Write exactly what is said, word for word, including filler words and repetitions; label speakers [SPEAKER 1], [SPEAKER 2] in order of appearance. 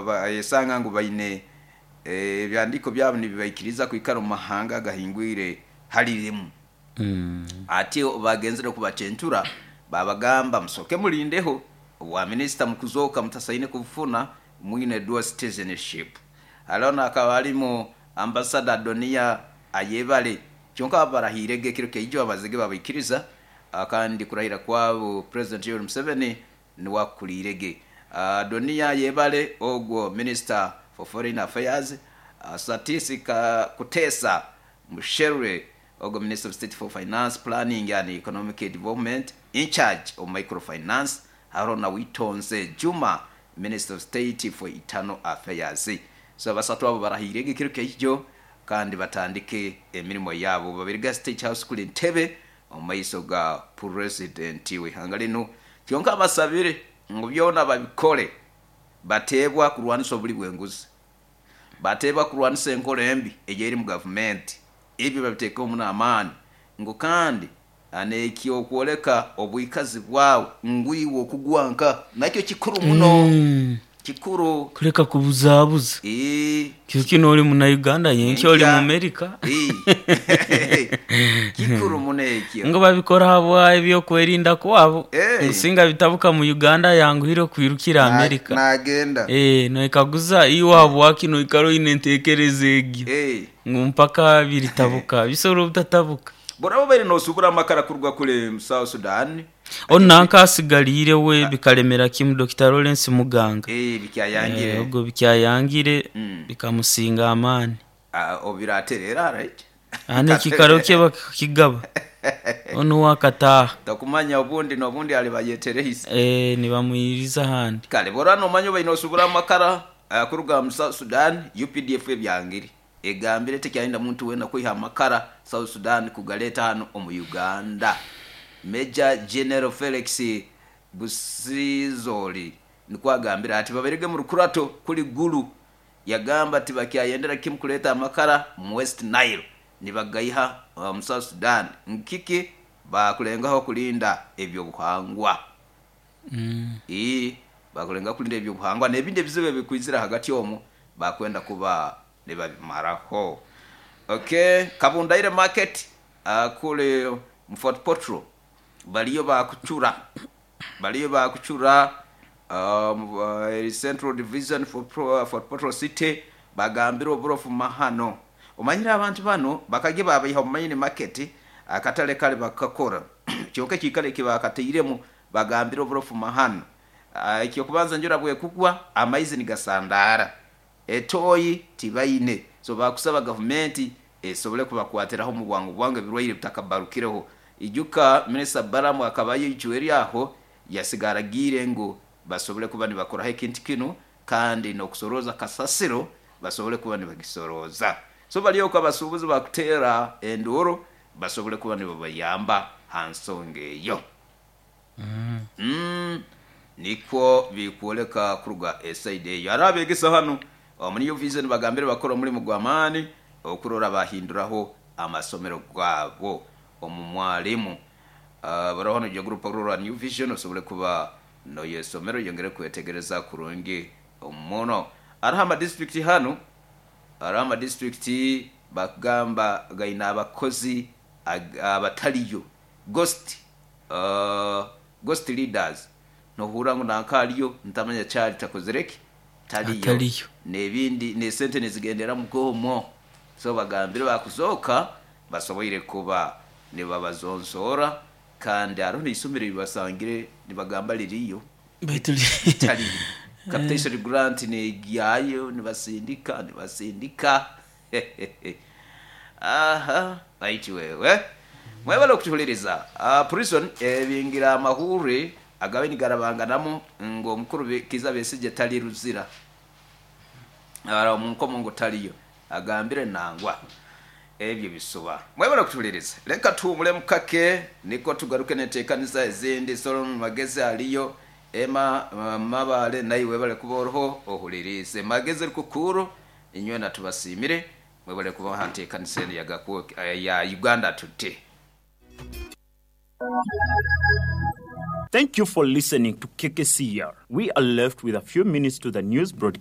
[SPEAKER 1] Bayesanga ngu baine ebyandiiko byabo nibibaikiriza kwikara omu mahanga agahingwire hali rimu.
[SPEAKER 2] Mm.
[SPEAKER 1] Ati bagenzere kubacentura, babagamba, "Musoke mulindeho obwa minisita mukuzoka mutasaine kubufuna mwine dual citizenship." Hariho nakaba harimu Ambassador Donia Ayebare. Kyonka barahirege ekiro kyaijo, abazige babaikiriza, ah, kandi kurahira kwabo President Yoweri Museveni niwe akuliirege. uh, Donia Ayebare ogwo Minister for Foreign Affairs, uh, Satisi Ka- Kutesa Musherure ogwo Minister of State for Finance, Planning and Economic Development, in charge of microfinance. Hariho na Witonze Juma, Minister of State for Internal Affairs. So basatu abo barahirege ekiro kyaijo kandi batandike emirimo yabo babiriga State House kuli Ntebe omu maiso ga President w'ihanga linu. Kyonka basabire ngu byona babikole bateebwa kurwanisa obuli bw'enguzi, bateebwa kurwanisa enkora embi eyeri mu gavumenti. Ebyo babiteekemu n'amaani, ngu kandi nekyokwoleka obwikazi bwawe ngwiwe okugwanka nakyo kikuru muno.
[SPEAKER 2] Mm.
[SPEAKER 1] Kikuru.
[SPEAKER 2] Kuleka kubuzabuza.
[SPEAKER 1] Ee.
[SPEAKER 2] Kyo kino oli muna Uganda, yenkyo oli mu Amerika.
[SPEAKER 1] Ee. Kikuru muno ekyo.
[SPEAKER 2] Ngo babikora habwa ebyokwerinda kwabo.
[SPEAKER 1] Eh.
[SPEAKER 2] Nsinga bitabuka mu Uganda, yanguhire kwirukira
[SPEAKER 1] Na-
[SPEAKER 2] Amerika.
[SPEAKER 1] Nagenda.
[SPEAKER 2] Eh, noikaguza iwe habwaki noikara oine entekereza egyo
[SPEAKER 1] Eh.
[SPEAKER 2] ngu mpaka biritabuka, bisobora obutatabuka.
[SPEAKER 1] Borabo baire nosubura amakara kuruga kule mu South Sudan.
[SPEAKER 2] Onu nanka asigaliire we bikalemera kimu, Doctor Lawrence Muganga.
[SPEAKER 1] Eh, bikyayangire.
[SPEAKER 2] Eh, ogwo bikyayangire.
[SPEAKER 1] Mm.
[SPEAKER 2] Bikamusinga amaani.
[SPEAKER 1] Ah, obiraterera, right.
[SPEAKER 2] Aha ekikaro kye bakakigaba, onu wakataaha.
[SPEAKER 1] Takumanya obundi n'obundi alibayeterehise.
[SPEAKER 2] Eh, nibamwiriza ahandi.
[SPEAKER 1] Kale bora nomanya baine osubura amakara uh, kuruga mu South Sudan, U P D F ebyangire, egambire tekyayenda muntu wena kwiha amakara South Sudan kugaleta hano omu Uganda. Major General Felix Busizoli nikwo agambire ati baberege mu rukurato kuli Gulu. Yagamba ati bakyayendera kimu kuleta amakara mu West Nile nibagaiha uh, mu South Sudan, nkiki bakulengaho kulinda ebyobuhangwa.
[SPEAKER 2] Mm.
[SPEAKER 1] Ii bakulenga kulinda ebyobuhangwa n'ebindi ebizibu ebikwizira hagati omwo bakwenda kuba nibabimaraho. Okay, Kabundaire Market uh, kule mu Fort Portal baliyo bakucura baliyo bakucura um, uh, Central Division for Pro, Fort Portal City. Bagambire oburofu mahano. Omanyire abantu bano bakage babaiha mu main market, akatale kale bakakora kyonka ekikale kibakateiremu. Bagambire oburofu mahano. Ah, ekyokubanza njura bwekugwa amaizi nigasandara, etoyi tibaine. So bakusaba gavumenti esobole kubakwatiraho mu bwangu bwangu ebirwaire bitakabarukireho. Ijuka Minisita Baramu akaba yicuwe aho yasigara agire ngu basobole kuba nibakoraho ekintu kinu, kandi n'okusoroza kasasiro basobole kuba nibagisoroza. So baliyo abasuubuzi bakuteera enduuru basobole kuba nibabayamba ha nsonga eyo. mm. nikwo bikwoleka kuruga eside eyo. Hariho abegesa hano omu New Vision bagambire bakora omulimu gw'amaani okurora bahinduraho amasomero gabo omu mwalimu. uh, baraho nojo group okurora New Vision osobole kuba noyesomero yongere kwetegereza kurungi muno. Hariho amadistrict hano, hariho amadistrict bakugamba gaina abakozi ag- abataliyo, ghost uh, ghost leaders. Nohura ngu nanka aliyo, ntamanya kyali takozereki, taliyo.
[SPEAKER 2] Ataliyo.
[SPEAKER 1] Nebindi nesente nizigendera mugomo. So bagambire bakuzoka basoboire kuba nibabazonsora. Kandi hariho neisomero libasangire nibagamba liriyo.
[SPEAKER 2] Baitu li-
[SPEAKER 1] Taliyo. Capitation grant negyayo, nibasindika nibasindika. Aha, baiti wewe mwebale okutuhuliriza. uh, prison ebingira amahuri agabe nigarabanganamu ngo omukuru Be- Kiza Besigye tali Ruzira, ara omunkomo ngo taliyo. Agambire nangwa ebyo bisuba. Mwebale okutuhuliriza, leka tuwumule mukake niko tugaruke neteekanisa ezindi. Solomon Magezi aliyo ema uh, mabale naye webale kuba oroho ohulirize Magezi rukukuru. Inywe natubasimire, mwebale kuba hanteekanisa eno yagaku ya Uganda Today.
[SPEAKER 3] Thank you for listening to K K C R. We are left with a few minutes to the news broadcast.